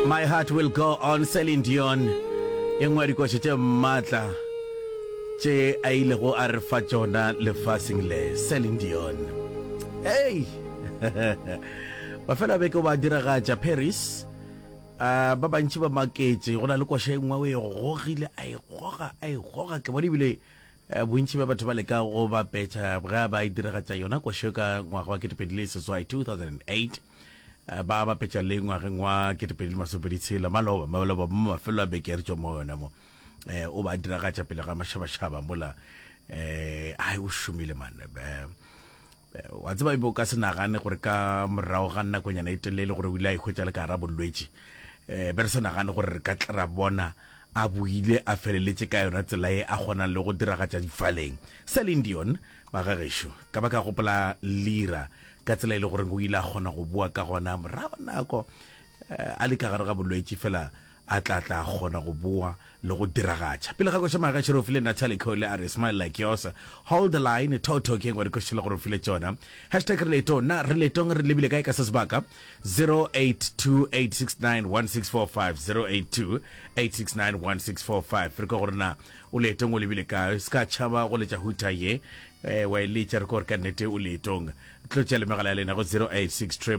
My heart will go on Celine Dion e nngwe ya dikoša tše maatla tše a ilego a re fa tšona lefaseng le Celine Dion hey mafelo a beke o ba diragatša Paris uh, ba bantši ba maketše go na le koša e nngwe o e gogile a e goga a e goga ke bone ebile Eh, bontši bja batho ba leka go bapetša ge ba e diragatša yona košo ka ngwaga wa 2008 2008 eh, ba bapetša le ngwageng wa 2026 maloba maloba mo mafelo a beke re tšwa mo yona mo eh, o ba diragatša pele ga mašabašaba mola eh, ai o šomile man eh, Wa tseba ebe o ka se nagane gore ka morago ga nakonyana e telele gore o ile a ikhwetša le ka gara bolwetši. Um be re sa nagane gore re ka tla ra bona a boile a feleletše ka yona tsela ye a kgonang le go diragatša difaleng. Celine Dion, magagešo, ka ba ka gopola Lira ka tsela e le goreng o ile a kgona go boa ka gona morago nako a le ka gare ga bolwetši fela a tla tla kgona go boa le go diragatša. Pele ga koša Magaši re o file Natalie Cole a re Smile Like Yours, Hold the Line, Toto ke engwe dikoša le gore o file tšona. Hashtag re leetong, na re leetong re lebile kae ka se sebaka? 0828691645, 0828691645 re kwa gore na o leetong o lebile kae, se ka tšhaba go letša hooter ye eh, wa e letša re kwa gore ka nnete o leetong. Tlotša le megala ya lena go 086 000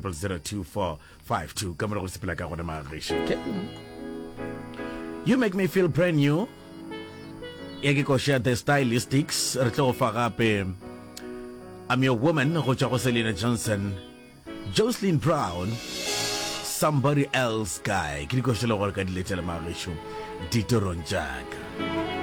52 ka morago sepela ka gona magešo okay. You make me feel brand new ya ke koša the stylistics re tlo go fa gape I'm your woman go tšwa go Selena Johnson Jocelyn Brown somebody else guy ke dikoša le gore ka di letela magešo ditorong tšaka.